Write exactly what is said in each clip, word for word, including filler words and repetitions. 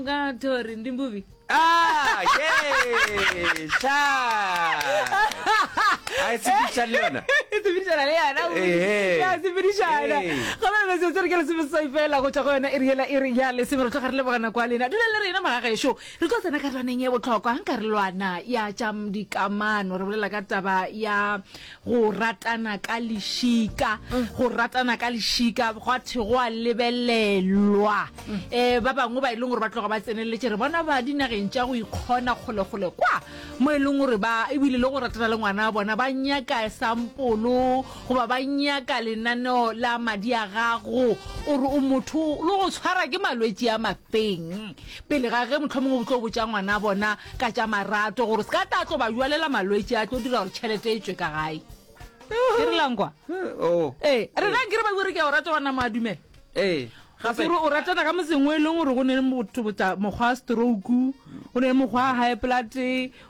Nga thori ndi mbuvi. Ah, ye, sha. A e sepedišana le yona. E sepedišana le yona. Ehe. Ya sepedišana. Ee. Gape metsotso re ke lesomeseswai fela go tšwa go yona iri yela iri ya lesome re tloga re leboga nako ya lena. Dula le rena magagešo. Re tlo tsena karolwaneng ye bohlokwa karolwana ya tša dikamano. Re bolela ka taba ya go ratana ka lešika. Go ratana ka lešika gwa thwe go a lebelelwa. Um ba bangwe ba e leng gore ba tloga ba tseneletše re bona ba dinageng tša go ikgona kgolekgole kwa mo e leng gore ba ebile le go ratana le ngwana wa bona ba nyaka sampolo goba ba nyaka lenaneo la madi a gago o re o motho le go tshwara ke malwetši a mafeng pele ga ge mohlomongwe o tlo botša ngwana wa bona ka tša marato gore se ka tla tlo ba jwalela malwetši a tlo dira gore tšhelete e tšwe ka gae ke re lankwa Oh. ee rena nke re ba bue re ke a o rata wa nama a dumela Ee. Ga se Gape gore o ratana ka motseng o e leng gore go ne le motho botsa mokgwa wa stroke, go ne le mokgwa wa high blood,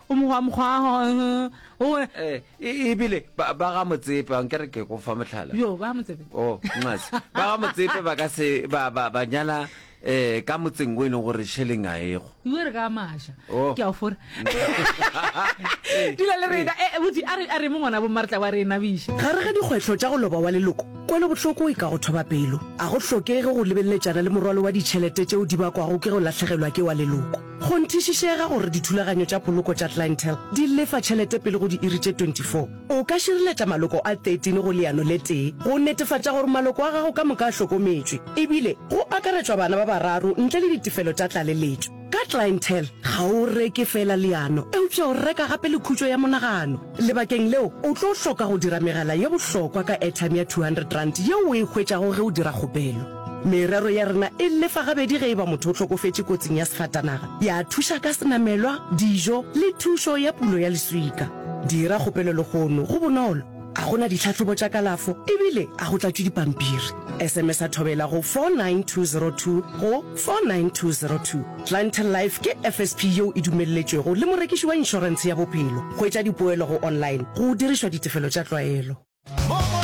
o mokgwa mokgwa wa o eh e ebile ba ba ga Motsepe a nkere ke go fa mohlala. yo ba Motsepe. Oh, nxase. Ba ga Motsepe ba ka se ba ba ba nyala eh ka motseng o e leng gore šeleng a ego. Iwe re ka maša. Oh. Ke a o fora. Dula le rena. Eh botsi a re a re mo ngwana bo mma re tla ba re nabiša. Gare ga dikgwetlho tša go loba wa leloko, kwelobohloko e ka go thoba pelo. A go hlokege go lebeleletšana le morwalo wa ditšhelete tšeo di bakwago ke go lahlegelwa ke wa leloko. Kgonthišišega gore dithulaganyo tša poloko tša Clientele di lefa tšhelete pele go diiri tše twenty four. O ka šireletša maloko a thirteen go leano le tee go netefatša gore maloko a gago ka moka a hlokometšwe, ebile go akaretšwa bana ba bararo ntle le ditefelo tša tlaleletšo. Ka Clientele, ga o reke feela leano, eupša o reka gape le khutšo ya monagano. Lebakeng leo, o tlo hloka go dira megala ye bohlokwa ka airtime ya two hundred rand yeo o e hwetšago ge o dira kgopelo. Merero ya rena e lefa gabedi ge e ba motho o hlokofetše kotsing ya sefatanaga, ya thuša ka senamelwa, dijo le thušo ya pulo ya leswika. Dira kgopelo lehono, go bonolo, a go na ditlhahlobo tša kalafo ebile a go tlatšwe dipampiri. S M S a Thobela go four nine two zero two go four nine two zero two. Clientele Life ke F S P yeo e dumelletšwego le morekiši wa inšorentshe ya bophelo. Hwetša dipoelo go online go dirišwa ditefelo tša tlwaelo.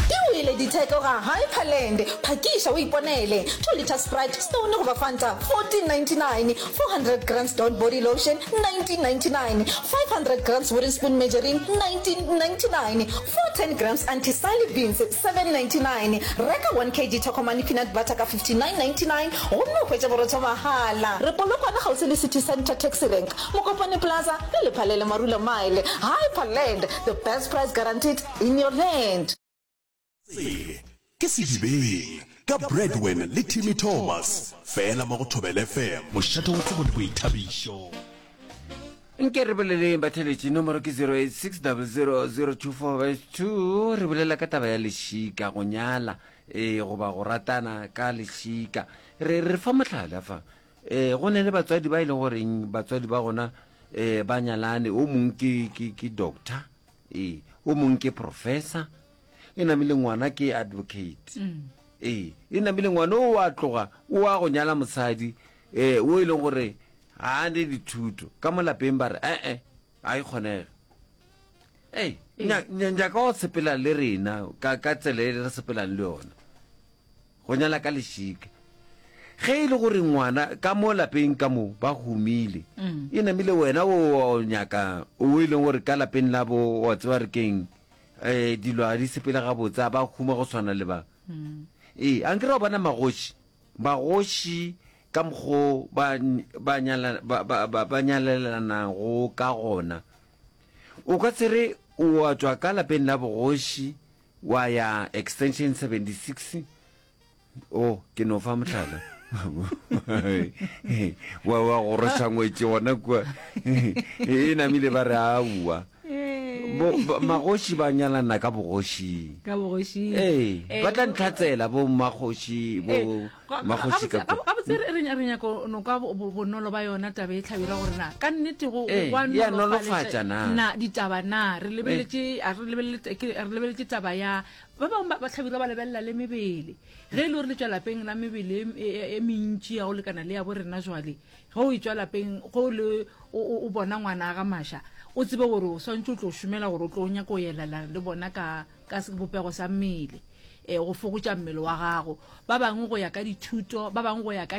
Di wele ditheko ga Hyperland. Phakiša o iponele. Two litre Sprite, Stone goba Fanta, fourteen ninety-nine. Four hundred grams Dawn body lotion, nineteen ninety-nine. Five hundred grams Wooden Spoon margarine, nineteen ninety-nine. Four ten grams Anti-Sally beans, seven ninety-nine. Reka one kg Tokomane peanut butter ka fifty-nine ninety-nine gomme o hwetše borotho mahala. Re Polokwane kgauswi le City Centre Taxi Rank, Mokopane Plaza le Lephalele Marula Mile. Hyperland, the best price guaranteed in your land. Se ke Sedibeng ka Bradwin le Timmy Thomas, fela mo go Thobela F M, mošate wa tsebo le boithabišo. Nke re boleleng batheletši, nomoro ke zero eight six double zero zero two four five two. Re bolela ka taba ya lešika, go nyala ee goba go ratana ka lešika. Re re fa mohlala fa, ee go ne le batswadi ba e leng goreng batswadi ba gona ee ba nyalane, o mong ke ke ke doctor, ee o mong ke professor, e namile ngwana ke advocate, ee e namile ngwana o a tloga o a go nyala mosadi ee o e leng gore ga a ne dithuto ka mo lapeng, ba re ee a e kgonege. Ei, nyaka go sepela le rena ka ka tsela e re sepelang le yona, go nyala ka lešika. Ge e le gore ngwana ka mo lapeng ka mo ba humile, e namile wena o nyaka o e leng gore ka lapeng la bo wa tseba re keng, um dilo ga di sepele gabotse, a ba huma go tshwana le ba. Ee, a nkere wa bona magoši, magoši ka mokgo ba ba nyala ba ba ba nyalelanago ka gona. O ka se re o a tšwa ka lapeng la bogoši wa ya extension seventy six, o ke no fa mohlala, wa wa goroša ngwetši gona kua, e namile ba re aowa. Magoši ba nyalana ka bogošing. Ka bogošing. Ee, ba tla ntlhatsela bo mmakgoši, bo magoši ka kua. Gabotse re re nyaka no kwa bonolo ba yona taba e hlabirwa gore na ka nnete go Ee, gwa ya nolofatša na. Na ditaba na re lebeletše a re lebelele ke re lebeletše taba ya ba bangwe ba hlabirwa ba lebelela le mebele ge e le gore le tšwa lapeng la mebele e mentši ya go lekana le ya bo rena jwale ge o e tšwa lapeng ge o le o bona ngwana ga maša o tsebe gore o swantše o tlo šomela gore o tlo nyaka go elana le bona ka ka sebopego sa mmele um go fokotša mmele wa gago ba bangwe go ya ka dithuto ba bangwe go ya ka